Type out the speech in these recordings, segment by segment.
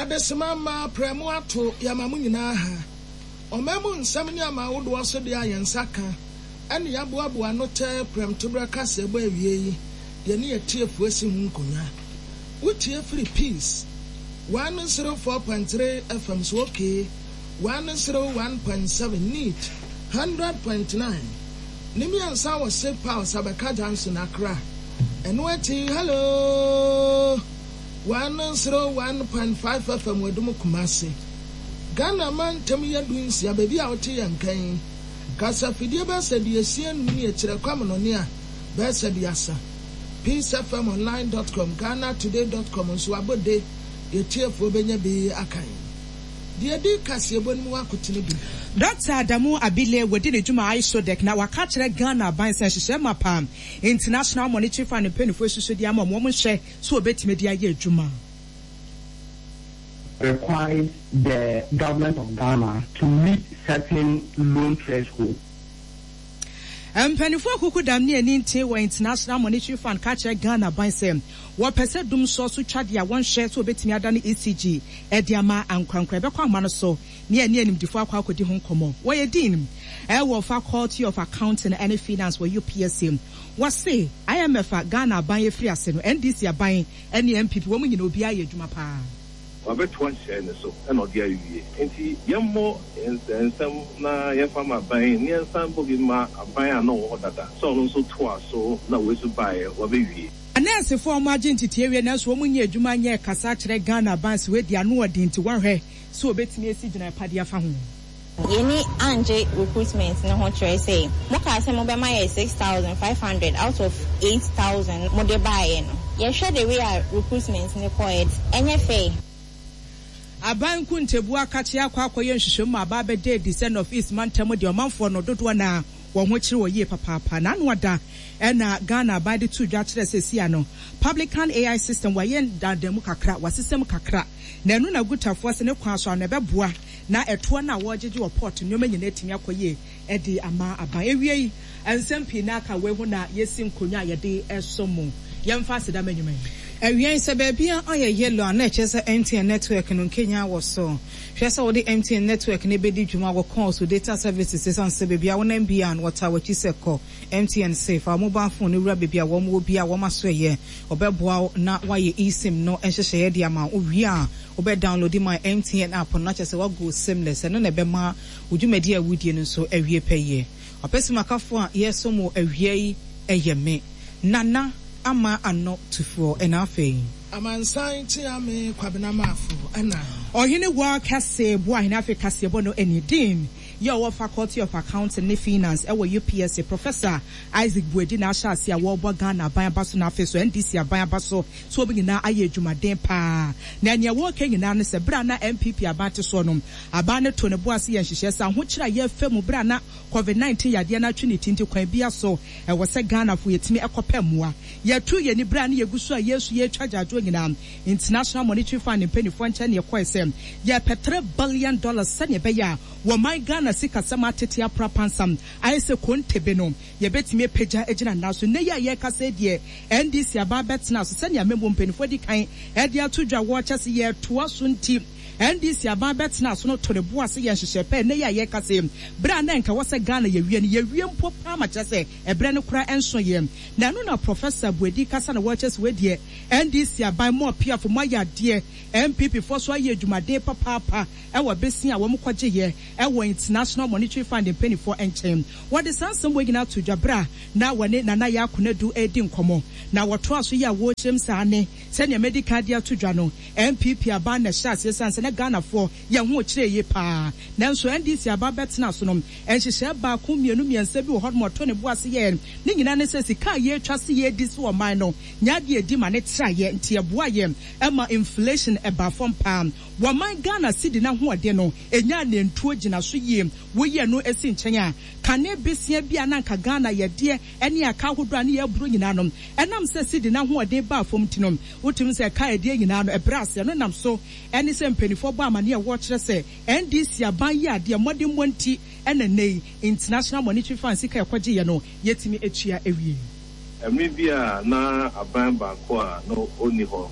Adesima mma prɛmo ato yɛama mo nyinaa ha. Ɔman mu nsɛm ne aman ahodoɔ so deɛ a yɛn nsa ka ne yɛaboaboa ano tɛɛ prɛmtoberɛ kaseɛbɔ awie yi yɛne atiefoɔ asi ho nkonnwa. Wotie firi Peace 104.3 FM so okay 101.7 Neat 100.9 ne miɛnsa wɔ Sip House Abɛka Junction Accra. Ɛno akyi Hello 101.5 FM Adum Kumasi. Ghana mantam yɛ du nsia baabi a wote yɛn nka yi. Kasafidie bɛyɛ sɛ aduosia num ne akyire kwamonɔne a bɛyɛ sɛ aduasa. Peacefmonline dot com, Ghanatoday dot com nso abɔ de yɛ tiefoɔ bɛnya bi akan. Deɛ ɛdi kaseɛbɔ no mu akotene bi. Dɔkta Adamu Abile wadi ne dwuma ISODEC na waka akyerɛ Ghana aban sɛ nhyehyɛe mapa a International Monetary Fund mpanyinfoɔ asusu de ama wɔn, wɔnhwɛ sɛ wɔbɛtumi de ayɛ adwuma. Requires the government of Ghana to meet certain loan thresholds. Mpanyinfoɔ akukudam ne ani nte wɔ International Monetary Fund ka kyerɛ Ghana aban sɛ wɔpɛ sɛ dumsɔ so twa deɛ a wɔnhwɛ sɛ wɔbɛtumi adane ECG de ama ankorankoro a ɛbɛkɔ ahoma no so ne ɛne animdefoɔ akɔ akɔdi ho nkɔmmɔ. Wɔyɛ Dean wɔ Faculty of Accounting ne Finance wɔ UPSA. Wɔse IMF a Ghana aban afiri ase no, NDC aban ne NPP wɔn nyinaa obiara ayɛ adwuma paa. Wabɛtoa nhyehyɛe no so na ɔde awie. Enti yɛmmɔ nsɛm na yɛmfa mma aban na yɛnsan mmɔ bi mma aban a na ɔwɔ hɔ dada sɛ ɔno nso toa so na wei nso baeɛ wabɛwie. Anɛɛsefo a wɔagye ntetee awie nanso wɔnnya adwuma nyɛ kasa kyerɛ Ghana aban sɛ wɔadi ano ɔden nti wɔahwɛ sɛ wɔbɛtumi asi gyinae pa de afa ho. Yɛni angye recruitment no ho kyerɛ sɛ mokaa sɛ mobɛma yɛ 6500 out of 8000 mode baeɛ no yɛhwɛ the way a recruitment no kɔeɛ ɛnyɛ fair. Aban nkontabuo akakye akɔ akɔyɛ nhwehwɛmu ma aba abɛda adi sɛ North East mantam deɛ ɔmanfoɔ no dodoɔ no ara wɔn ho kyere wɔ yie papaapa. N'ano ada na Ghana aban de too dwa kyerɛɛ sɛ seesei ano Publican AI system wɔayɛ ndaadamu kakra, wɔasesa mu kakra na ɛno na Gutafoɔ se ne kwan so ano ɛbɛboa na ɛtoɔ no a wɔregyegye wɔ port nneɛma nyinaa atumi akɔ yie de ama aban. Awiei, nsɛm pii na aka wei ho na yɛasi nkonnwa a yɛde resɔ mu. Yɛmfa aseda ma nnwuma yi. Awiei, sɛ baabiara ayɛ yellow a, na ɛkyerɛ sɛ MTN network no nkenyan wɔ so. Hwɛ sɛ wode MTN network no bedi dwuma wɔ calls, wo data services, esiane sɛ baabi a wonam biara no, wɔtaa w'akyi sɛ kɔ. MTN se, fa wo mobile phone no wura baabi a wɔn wɔ biara a wɔn aso yɛ. Wɔbɛboa wo na woayɛ eSIM no nhyehyɛeɛ de ama wo. Wowie a, wobɛ downloadi my MTN app no na kyerɛ sɛ woago SIMless. Ɛno na ɛbɛma wo dwumadi a wodie no nso awie pɛyɛ. Ɔpɛsimakafo a yɛresom wo awia yi yɛ me, Nana Ama Ano Tufoɔ, ɛna afei. Amansan Kyeame Kwabena Marfo, ɛna. Ɔhene War Kɛse Boahene Afei Kaseɛbɔ no Ani Dean yɛ ɔwɔ Faculty of Accounting ne Finance ɛwɔ UPSA Professor Isaac Boadi na ahyɛ ase a wɔrebɔ Ghana aban aba so na afei so NDC aban aba so sɛ wɔn nyinaa ayɛ adwumaden paa na nea wɔreka nyinaa ne sɛ bere a na NPP aban te soɔ no aban no too ne bo ase yɛɛ nhyehyɛɛ sɛ ahokyere a yɛrefa mu bere a na Covid 19 yadeɛ no atwe ne ti nti kwan biara so ɛwɔ sɛ Ghanafo yɛtumi kɔpɛ mmoa. Yɛtoo yɛn ani bere a na yɛgu so a yɛresu yɛretwa agyaadwoɔ nyinaa International Monetary Fund mpaninfoɔ nkyɛn na yɛkɔɛ sɛ yɛrepɛ $3 billion sɛdeɛ ɛbɛyɛ a wɔman Ghana sikasɛm atete apra pansam ayɛ sɛ kontebe no yɛbɛtumi apagya agyina nna so. Nnɛ yi a yɛrekasa yi deɛ NDC aban bɛtena so sɛdeɛ amammuo mpaninfoɔ adi kan de ato dwa wɔrekyɛ sɛ yɛretoa so nti NDC aban bɛtena so no to ne bo ase yɛ nhyehyɛɛ pa. Ɛnnɛ yi a yɛrekasa yi berɛ a na nka ɛwɔ sɛ Ghana yɛwie no yɛwie mpo paa ma kyerɛ sɛ ɛberɛ no koraa nso yɛ. Na ɛno na Professor Boadi kasa na wɔrekyerɛ sɛ wei deɛ NDC aban mo apiafo moayɛ adeɛ, NPP foɔ nso ayɛ adwumaden papaapa wɔ besia a wɔn kɔgyeeɛ wɔ International Monetary Fund mpaninfoɔ nkyɛn. Wɔde saa nsɛm wei nyinaa too dwa berɛ a na wɔne Nana Yaa Konadu redi nkɔmmɔ. Na wɔtoaa so yɛ a wɔrekyerɛm sɛ aane, sɛdeɛ madi kan de ato dwa no, NPP aban na ɛhyɛɛ aseɛ ɛsiane sɛ na Ghanafoɔ yɛn ho rekyerɛ yie pa ara. Nanso NDC aban bɛtenaa so no, nhyehyɛɛ baako, mmienu, mmiɛnsa bi wɔ hɔnom a ɔtoo ne bo ase yɛɛ. Ne nyinaa ne sɛ sika a yɛretwa se yɛredi so ɔman no nyɛ adeɛ a ɛdi ma ne traeɛ nti ɛboaa yɛn ma inflation baa fam pa ara. Wɔman Ghana cedi no ahoɔden no ɛnyaa nantuo gyina so yie. Woyi ɛno si nkyɛn a, kane besia bi a na anka Ghana yɛdeɛ ne aka ahodoɔ a ne yɛreboro nyinaa no, ɛnam sɛ cedi no ahoɔden baa fam nti no, wotumi hu sɛ ɛka a ɛdeɛ nyinaa no ɛbrɛ ase. Ɛno nam so ne sɛ mpaninfoɔ bɔ amaneɛ a wɔkyerɛ sɛ NDC aban yɛ adeɛ mmɔdemmɔ nti na nnɛ yi International Monetary Fund sika a ɛkɔgyeeɛ no yɛtumi atua awie. Mmere bi a na aban baako a na onni hɔ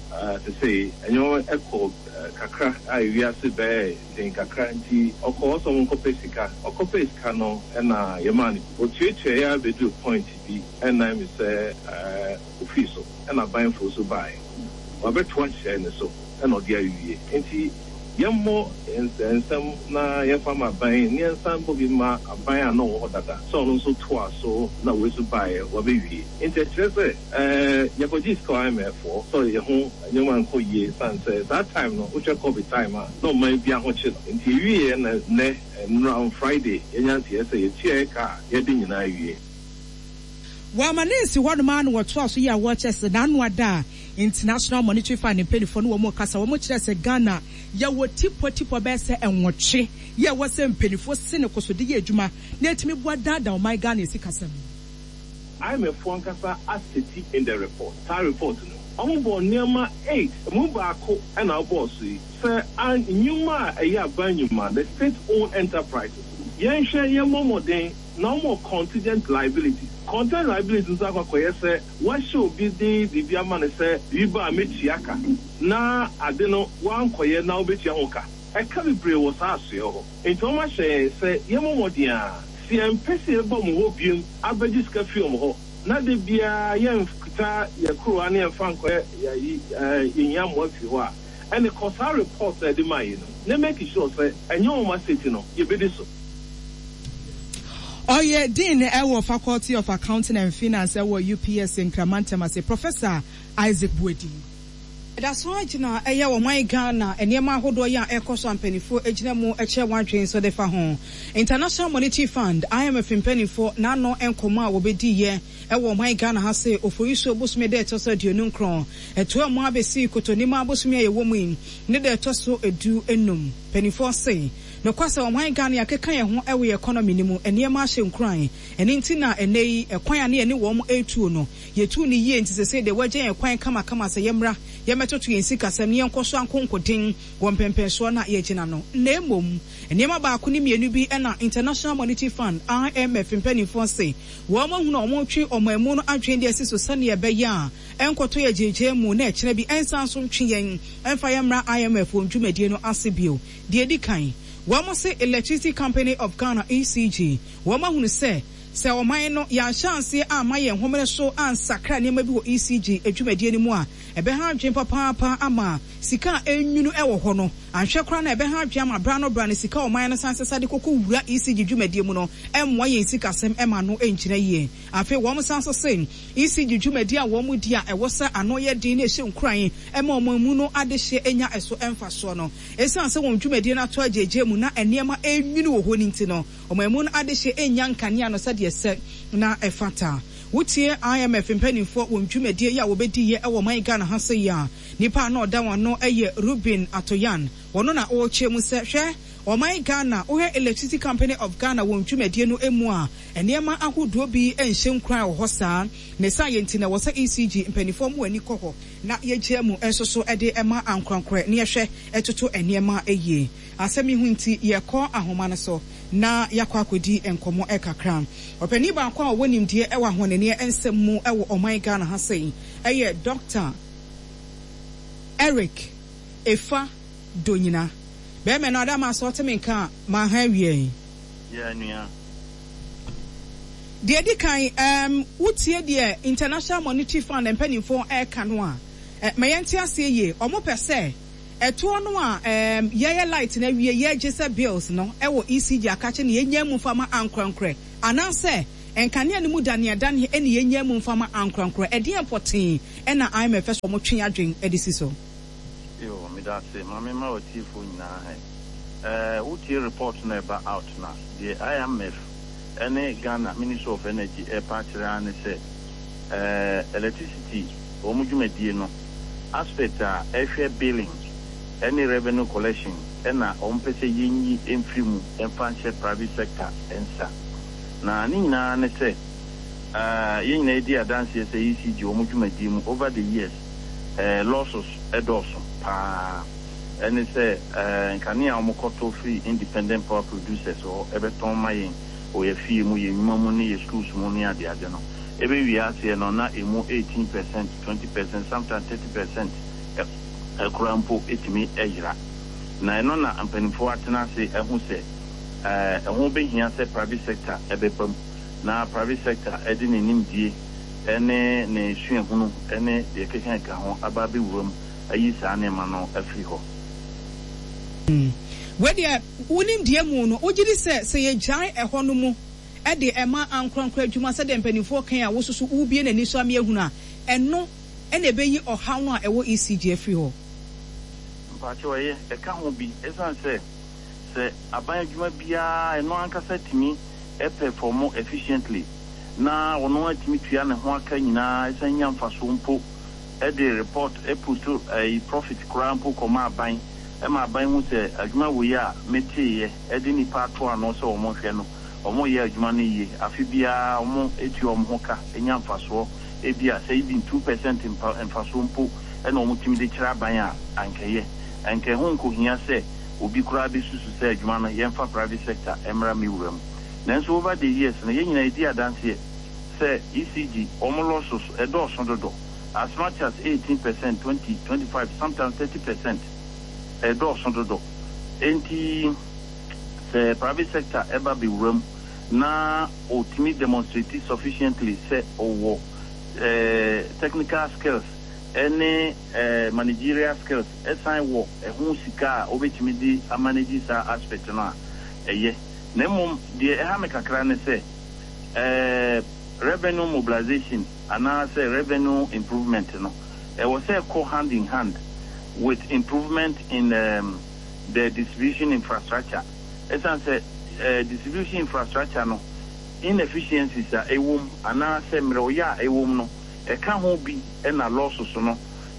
sesei, nneɛma kɔɔ kakra a wiase bɛyɛɛ den kakra nti ɔkɔɔ hɔ sɛ ɔnkɔpɛ sika. Ɔkɔpɛɛ sika no na yɛmaa no bi. Otuatuae ara beduu point bi ɛnnan me sɛ ofii so ɛna aban foro so baeɛ. Wabɛtoa nhyehyɛe no so na ɔde awie. Enti yɛmmɔ nsɛm na yɛmfa mma aban na yɛnsan mmɔ bi mma aban a na ɔwɔ hɔ dada sɛ ɔno nso toa so na wei nso baeɛ wabɛwie. Enti ɛkyerɛ sɛ yɛkɔgyee sika wɔ IMF hɔ sɛ yɛn ho nneɛma nkɔ yie ɛsiane sɛ saa time no wohwɛ covid time a na ɔman biara ho kye no. Enti yɛwieɛ na nnɛ nnora on Friday yɛanya nteɛ sɛ yɛtua yɛ ka a yɛde nyinaa awie. Wɔama no nsi hɔnom ara na wɔtoa so yɛ a wɔkyerɛ sɛ n'ano ada a International Monetary Fund mpaninfoɔ ne wɔn rekasa wɔn kyerɛ sɛ Ghana yɛwɔ tipɔ tipɔ bɛyɛ sɛ nwɔtwe yɛ ɛwɔ sɛ mpaninfoɔ sene koso de yɛ adwuma na ɛtumi boa daadaa ɔman Ghana sikasɛm. IMF foɔ ankasa aseti in the report, saa report no mu, wɔn bɔɔ nneɛma eight, ɛmu baako na wobɔɔ so yi, sɛ an nnwuma a ɛyɛ aban nnwuma, the state owned enterprises no, yɛnhwɛ yɛmmɔ mmɔden na wɔn wɔ contingent liabilities. Contingent liabilities nso akɔ akɔyɛ sɛ woahyɛ obi de biribi ama no sɛ biribi ba a mɛtua ka, na ade no woankɔyɛ na wobɛtua ho ka. Ɛka bebree wɔ saa asoɛe hɔ. Enti wɔahyɛ yɛn sɛ yɛmmɔ mmɔden ara. Sɛ yɛmpɛ sɛ yɛbɛba wɔn hɔ bio abɛgye sika fi wɔn hɔ, na da biara yɛnkuta yɛn kuruwa na yɛmfa nkɔyɛ ayi, yɛhia mmoa fi hɔ a, ɛnde kɔ saa report a yɛde mae yi no na make sure sɛ ɛnyɛ wɔn asɛti no, yɛbɛdi so. Ɔyɛ Dean wɔ Faculty of Accounting and Finance wɔ UPSA Nkraman Ntam ase, Professor Isaac Boadi. Ɛda so ara gyina ɛyɛ ɔman Ghana nneɛma ahodoɔ yi a ɛrekɔ so a mpaninfoɔ gyina mu kyerɛ wɔn adwene nso de fa ho. International Monetary Fund, IMF, mpaninfoɔ n'ano nkɔmmɔ a wɔbɛdiiɛ wɔ ɔman Ghana ha se Oforisuo bosome da ɛtɔ so 29 ɛtoa mu abɛsi Kotonima bosome a yɛwɔ mu yi ne da ɛtɔ so du num. Mpaninfoɔ se nokwasɛm ɔman Ghana yɛakeka yɛn ho wɔ yɛn economy no mu, nneɛma ahyɛ nkuran ɛno nti na ɛnnɛ yi ɛkwan a ne yɛne wɔn retuo no Yɛtuu no yie nti sesei deɛ wɔagya yɛn kwan kamakama sɛ yɛmmra yɛmmɛtoto yɛn sikasɛm na yɛnkɔ so ankonkoden wɔ mpɛnpɛnsoɔ no a yɛagyina no. Na mmom nneɛma baako ne mmienu bi na International Monetary Fund, IMF, mpanimfoɔ se wɔahunu a wɔretwe ɔman mu no adwene de asi so sɛdeɛ ɛbɛyɛ a ɛnkɔtɔ yɛn agyinagyina mu na ɛkyena bi ɛnsan nso ntwe yɛn mfa yɛn mmra IMF wɔn dwumadie no ase bio. Deɛ ɛdi kan, wɔse Electricity Company of Ghana, ECG, wɔahunu sɛ Sɛ ɔman no, yɛanhyɛ aseɛ amma yɛn homene so ansakra nneɛma bi wɔ ECG dwumadie no mu a, ɛbɛha adwene papaapa ama sika a ɛrenwunu wɔ hɔ no. Anhwɛ koraa no a, ɛbɛha adwene ama berɛ ano berɛ ano sika a ɔman no san sesa de kɔkɔ wura ECG dwumadie mu no mmoa yɛn sikasɛm ma ano ngyina yie. Afei wɔn san nso se ECG dwumadie a wɔn di a ɛwɔ sɛ ano yɛ den na ɛhyɛ nkuran ma ɔman mu no adehyeɛ nya ɛso mfasoɔ no, ɛsiane sɛ wɔn dwumadie no atɔ agyeegyee mu na nneɛma renwunu wɔ hɔ no nti no, Ɔman mu no adehye nnya nkanea no sɛdeɛ ɛsɛ na ɛfata. Wotie IMF mpaninfoɔ wɔn dwumadie yi a wɔbɛdiiɛ wɔ ɔman Ghana ha sei a, nipa a na ɔda wɔn ano yɛ Reuben Atoyan. Ɔno na ɔrekyerɛ mu sɛ, hwɛ ɔman Ghana, wohwɛ Electricity Company of Ghana wɔn dwumadie no mu a, nneɛma ahodoɔ bi nhyɛ nkuran wɔ hɔ saa. Ne saa yɛ nti na ɛwɔ sɛ ECG mpaninfoɔ mo ani kɔ hɔ na yɛgyaa mu nso so de ma ankorankorɛ na yɛhwɛ toto nneɛma yie. Asɛm yi ho nti, yɛkɔ ahoma no so na yɛakɔ akɔdi nkɔmmɔ kakra. Ɔpanin baako a ɔwɔ nimdeɛ wɔ ahonneɛ nsɛm mu wɔ ɔman Ghana ha sei yɛ Dɔkta Eric Efa Donyina. Bɛrima no, Adama, sɛ ɔte me nka a, maha awie yi. Yeah, nua. Deɛ ɛdi kan, um, wotie deɛ International Monetary Fund mpanimfoɔ reka no a, eh, ma yɛnte aseɛ yie. Wɔpɛ sɛ Ɛtoɔ no a ɛɛm yɛyɛ light no awie yɛgye sɛ bills no ɛwɔ ECG akakye na yɛnyaa mu mfa ma ankorankorɛ anaasɛ nkanea no mu daneadaneɛ ɛna yɛnyaa mu mfa ma ankorankorɛ ɛdeɛn pɔtee ɛna IMF pɛ sɛ wɔn twe adwen de si so? Yoo medase ma me ma watiefoɔ nyinaa hɛ ɛɛ wo tie report no a ɛba out no a deɛ IMF ɛne Ghana ministry of energy ɛɛpa akyerɛ ara ne sɛ ɛɛ electricity wɔn dwumadie no aspect a ɛhwɛ billing ne revenue collection na wɔn pɛ sɛ yɛnyi mfiri mu mfa nhyɛ private sector nsa. Na ne nyinaa ne sɛ yɛn nyinaa yɛdi adanseɛ sɛ ECG wɔn dwumadie mu over the years losses dɔɔso paa. Ɛne sɛ nkanea a wɔkɔtɔ firi independent power producers hɔ bɛtɔn ma yɛn wɔ yɛn afie mu, yɛn nnwuma mu ne yɛn schools mu ne adeade no. Ɛbɛwie aseɛ no na ɛmu 18%, 20%, sometimes 30% koraa mpo tumi yera. Na ɛno na mpanimfoɔ atena ase ahu sɛ ɛho bɛhia sɛ private sector bɛba mu na private sector de ne nimdie ne ne suahunu ne deɛ ɛkeka ho aba abɛwura mu ayi saa nneɛma no afiri hɔ. Wei deɛ, wo nimdeɛ mu no, wogye di sɛ sɛ yɛgyae ɛhɔ no mu de ma ankorankoro adwuma sɛdeɛ mpanimfoɔ kan a wosusu wobue n'ani so ama yɛahunu a, ɛno na ɛbɛyi ɔhaw no a ɛwɔ ECG afiri hɔ? Mpakyɛw, ɛyɛ, ɛka ho bi. Ɛsiane sɛ, sɛ aban adwuma biara ɛno ankasa tumi pɛfɔmo efficiently na ɔno ara tumi tua ne ho aka nyinaa ɛsan nya mfasoɔ mpo de report post ɛyi profit koraa mpo kɔma aban ma aban hu sɛ adwuma wei a meteeɛ de nnipa ato ano sɛ wɔn nhwɛ no wɔn reyɛ adwuma no yie afe biara wɔn tua wɔn ho ka nya mfasoɔ ebia sɛ even 2% mpa mfasoɔ mpo na wɔn tumi de kyerɛ aban a anka ɛyɛ anka ɛho nkɔhia sɛ obi koraa bɛsusu sɛ adwuma no yɛmfa private sector mmra me wura mu. Nanso over the years no yɛn nyinaa yɛdi adanseɛ sɛ ECG wɔn losses ɛdɔɔso dodo as much as 18 percent, 20, 25, sometimes 30 percent ɛdɔɔso dodo. Enti sɛ private sector ɛba bɛwura mu na ɔtumi demonstrate sufficiently sɛ ɔwɔ technical skills ɛne managerial skills ɛsan wɔ ɛho sika a ɔbɛtumi de amanage saa aspect no a, ɛyɛ. Na mmom deɛ ɛha me kakra ne sɛ, revenue mobilization anaa sɛ revenue improvement no, ɛwɔ sɛ ɛkɔ hand in hand with improvement in the distribution infrastructure. Ɛsiane sɛ distribution infrastructure no inefficiencies a ɛwɔ mu anaa sɛ mmerɛwyɛ a ɛwɔ mu no, ɛka ho bi na losses no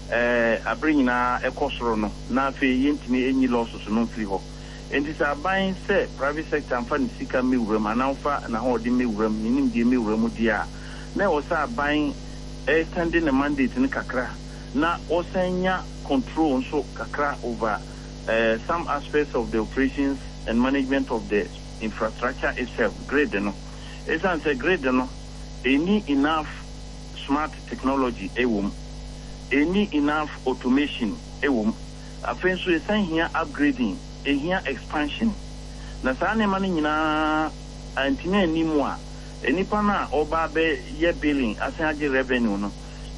bere nyinaa ɛkɔ soro no, na afei yɛntumi nyi losses no mfiri hɔ. Enti sɛ aban sɛ private sector mfa ne sika mmɛwura mu anaa ɔmfa n'ahoɔden mmɛwura mu, ne nimdeɛ mmɛwura mu deɛ a, na ɛwɔ sɛ aban extend ne mandate no kakra na ɔsan nya control nso kakra over some aspects of the operations and management of the infrastructure itself, grid no. Ɛsiane sɛ grid no ɛnni enough smart technology wɔ mu, ɛnni enough automation wɔ mu. Afei nso ɛsan hia upgrading, ɛhia expansion. Na saa nneɛma no nyinaa antumi anni mu a, nnipa no a wɔba abɛyɛ billing asan agye revenue no,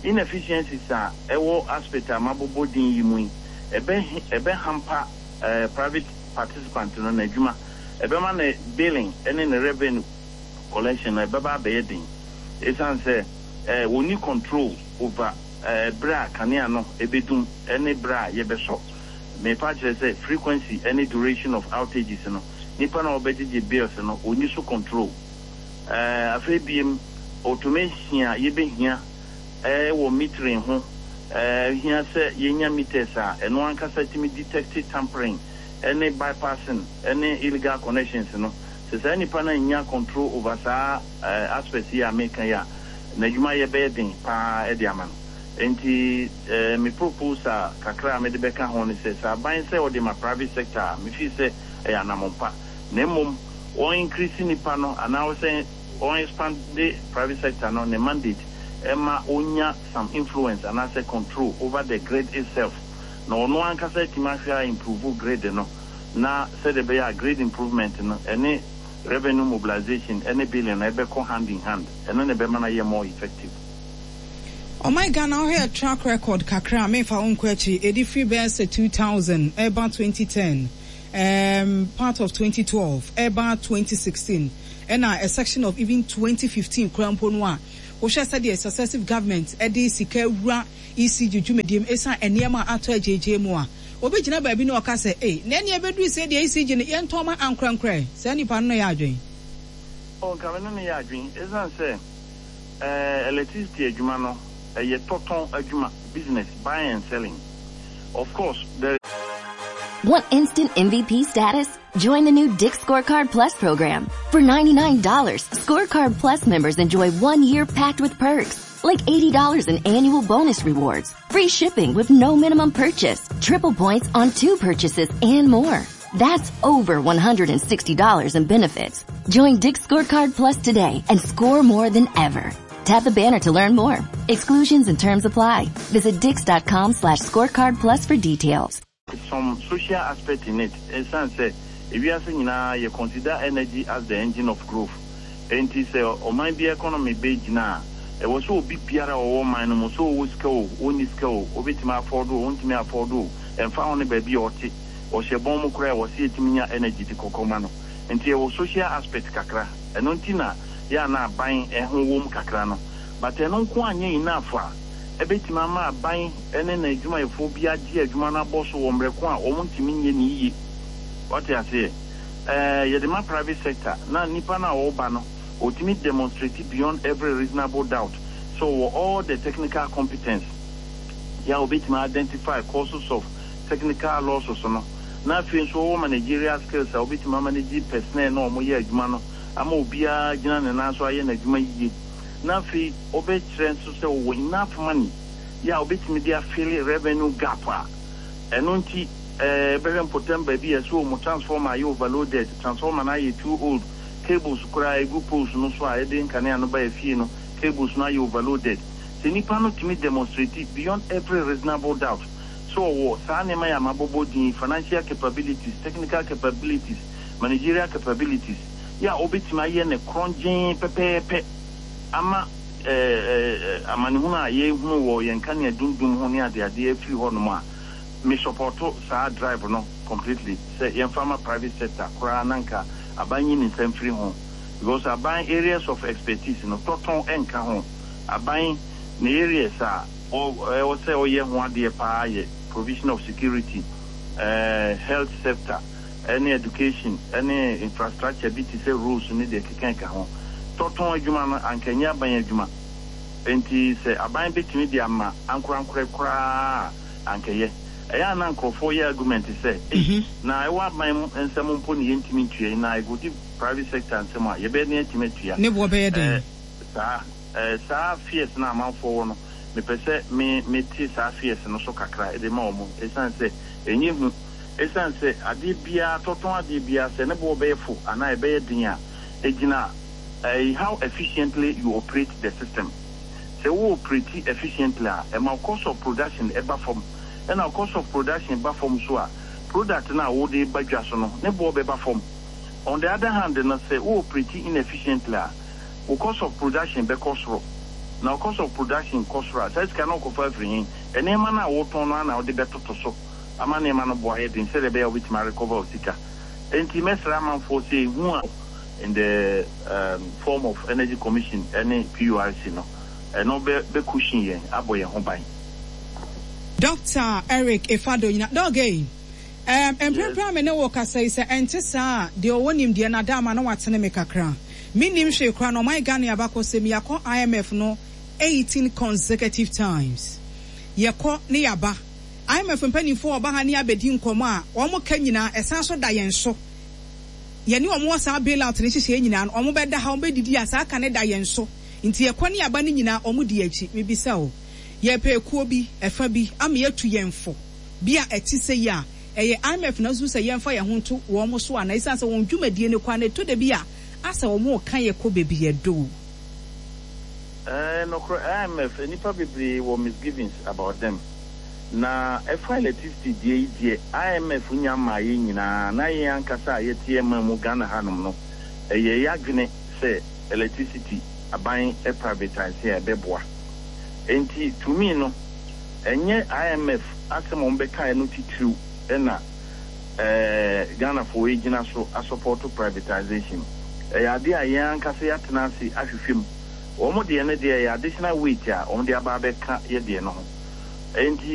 inefficiencies a ɛwɔ aspect a mabobɔ din yi mu yi, ɛbɛ ɛbɛ hamper private participant no n'adwuma. Ɛbɛma ne billing ne ne revenue collection no ɛbɛba abɛyɛ den esiane sɛ wɔnni control over bere a kanea no bedum ne bere a yɛbɛsɔ. Merepa akyerɛ sɛ frequency ne duration of outages no, nipa no a ɔbɛgyegye bills no, onni so control. Afei biem, automation a yebehia wɔ metering ho, ehia sɛ yenya meters a ɛno ankasa tumi detect tampering ne bypassing ne illegal connections no. Sɛ saa nipa no annya control over saa aspects yi a mereka yi a, n'adwumayɛ bɛyɛ den pa ara de ama no. Enti me proposal kakra a mede bɛka ho ne sɛ, sɛ aban sɛ ɔde ma private sector a, me feel sɛ ɛyɛ anammɔn pa. Na mmom wɔn increase nnipa no anaa sɛ wɔn expande private sector no ne mandate ma ɔnya some influence anaasɛ control over the grid itself na ɔno ankasa atumi ahwɛ a improve grid no na sɛdeɛ ɛbɛyɛ a grid improvement no ɛne revenue mobilization ne billing no ɛbɛkɔ hand in hand, ɛno na ɛbɛma no ayɛ more effective. Ɔman Ghana wohwɛ yɛ track record kakra a menfa wo nkɔ akyiri, ɛdi firi bɛyɛ sɛ 2000 ɛreba 2010, um, part of 2012 ɛreba 2016 ɛna a section of even 2015 koraa mpo no a, wohwɛ sɛdeɛ successive government ɛde sika awura ECG dwumadie mu ɛsiane nneɛma a atɔ agyeegyee mu a, Obi gyina baabi na ɔka sɛ, Ei, na ɛnneɛ ɛbɛduru sei deɛ ECG no, yɛntɔn ma ankorɛnkorɛ. Saa nipa no ne yɛ adwene? Oh, nka me ne no yɛ adwene. Esiane sɛ eh, electricity adwuma no, ɛyɛ tɔtɔn adwuma, business, buying and selling. Of course, there. Want instant MVP status? Join the new Dick's Scorecard Plus program. For $99, Scorecard Plus members enjoy one year packed with perks, like $80 in annual bonus rewards, free shipping with no minimum purchase, triple points on two purchases, and more. That's over $160 in benefits. Join Dick's Scorecard Plus today and score more than ever. Tap the banner to learn more. Exclusions and terms apply. Visit dix.com slash scorecard plus for details. Some social aspect in it, ɛsiane sɛ ewiase nyinaa yɛ consider energy as the engine of growth. Enti sɛ ɔman bi economy bɛ gyina a, ɛwɔ sɛ obi biara a ɔwɔ ɔman no mu, sɛ ɔwɔ sika o, ɔnni sika o, ɔbɛtumi afford o, ɔntumi afford o, ɛmfa ho ne baabi a ɔte, ɔhyɛ bɔn mu koraa a, ɛwɔ sɛ yɛtumi nya energy de kɔkɔ ma no. Nti ɛwɔ social aspect kakra. Ɛno nti na yɛ a na aban ho wom kakra no. But ɛno nko ara nyɛ enough a ɛbɛtumi ama aban ne n'adwumayɛfoɔ bi agye adwuma no abɔ so wɔ mmerɛ ko a wɔntumi nyɛ no yie. Wate aseɛ? Ɛɛ, yɛde ma private sector na nipa no a ɔreba no, ɔtumi demonstrate beyond every reasonable doubt sɛ ɔwɔ all the technical competence yɛ a ɔbɛtumi identify causes of technical losses no, na afei nso ɔwɔ managerial skills a ɔbɛtumi amanage personnel no a wɔyɛ adwuma no ama obiara agyina ne nan so ayɛ n'adwuma yie, na afei ɔbɛkyerɛ nso sɛ ɔwɔ enough money yɛ a ɔbɛtumi de afille revenue gap a ɛno nti bɛhwɛ mpɔtam baabi a ɛsɛ wɔn transformer ayɛ overloaded, transformer no ayɛ too old, cables koraa a ɛgu poles no so a ɛde nkanea no ba afie no, cables no ayɛ overloaded. Sɛ nipa no tumi demonstrate beyond every reasonable doubt sɛ ɔwɔ saa nneɛma yi a mabobɔ din yi, financial capabilities, technical capabilities, managerial capabilities, yɛ a ɔbɛtumi ayɛ no korɔngyenn pɛpɛɛpɛ ama amanehunu a yɛhunu wɔ yɛn nkanea dundum ho ne adeadeɛ afiri hɔnom a, me sɔpɔto saa drive no completely sɛ yɛmfa ma private sector koraa na nka aban nyi ne nsa mfiri ho because aban areas of expertise no tɔtɔn nka ho. Aban ne areas a ɛwɔ sɛ ɔyɛ ho adeɛ paa yɛ provision of security, health sector ne education ne infrastructure bi te sɛ roads ne deɛ ɛkeka ɛka ho. Tɔtɔn adwuma no anka ɛnyɛ aban adwuma. Enti sɛ aban bɛtumi de ama ankorankorɛ koraa a anka ɛyɛ. Ɛyɛ a na nkorɔfoɔ yɛ argument sɛ ei na ɛwɔ aban nsam mpo ne yɛntumi ntua yi na ɛkɔdi private sector nsam a yɛbɛyɛ den atumi atua. Ne boɔ bɛyɛ den. Saa. Eh, saa fears no a amanfoɔ wɔ no, mepɛ sɛ me, mete saa fears no so kakra de ma wɔn, ɛsiane sɛ ɛnyɛ hu. Ɛsiane sɛ adeɛ biara, tɔtɔn adeɛ biara, sɛ ne boɔ bɛyɛ fo anaa ɛbɛyɛ den a, ɛgyina eh, how efficiently you operate the system. Sɛ wo operate efficiently a, ɛma wo cost of production ba fam. Ɛna wo cost of production ba fam nso a, product no a wode reba dwa so no, ne boɔ bɛba fam. On the other hand no, sɛ wo operate inefficiently a, wo cost of production bɛkɔ soro. Na wo cost of production kɔ soro a, saa sika no wokɔfa afiri he? Nneɛma no a wotɔn no ara na wode bɛtoto so ama nneɛma no bo ayɛ den sɛdeɛ ɛbɛyɛ a wobɛtumi arecover wo sika. Enti mɛsrɛ amanfoɔ sɛ ehu a. In the form of Energy Commission ne PURC no, ɛno bɛ bɛ cushion yɛn, abɔ yɛn ho ban. Doctor Eric Efado Nyina, Dɔg ei, Ɛɛm, mprempren a me ne wo rekasa yi, sɛ ɛnte saa a, deɛ ɔwɔ nimdeɛ no ada ama na watene me kakra. Mennim hwee koraa na ɔman Ghana abakɔsɛm yi, yɛakɔ IMF no 18 consecutive times. Yɛkɔ ne yɛaba. IMF mpanimfoɔ a wɔba ha ne yɛn abɛdi nkɔmmɔ a, wɔn ka nyinaa, ɛsan so da yɛn so. Yɛne wɔn wɔ saa bailout no nhyehyɛeɛ nyinaa no, wɔbɛda ha, wɔbɛdidi a, saa ka no da yɛn so. Nti yɛkɔ ne yɛaba no nyinaa, wɔdi yɛn akyi. Mebisa o, yɛrepɛ ekuo bi, ɛfa bi, ama yɛatu yɛn fo. Bi a ɛte sɛi a, ɛyɛ IMF na susu sɛ yɛmfa yɛn ho nto wɔn so anaa? Esiane sɛ wɔn dwumadie no kɔ a, na ɛtɔ da bi a, asɛ wɔreka yɛn kɔ baabi yɛdɔ o. Ɛɛ nokorɛ IMF nnipa bebree wɔ misgivings about them na ɛfa electricity deɛ yi deɛ IMF nya mmaa yɛn nyinaa na yɛn ankasa a yɛte yɛn man mu Ghana hanom no ɛyɛ yadwene sɛ electricity aban privatise a ɛbɛboa enti to me no Ɛnyɛ IMF asɛm a wɔbɛkaeɛ no titiriw na Ghanafoɔ regyina so asɔpɔɔto privatisation. Ɛyɛ adeɛ a yɛn ankasa yɛatena ase ahwehwɛ mu. Wɔn deɛ no deɛ ɛyɛ additional weight a wɔde aba abɛka yɛn deɛ no ho. Enti.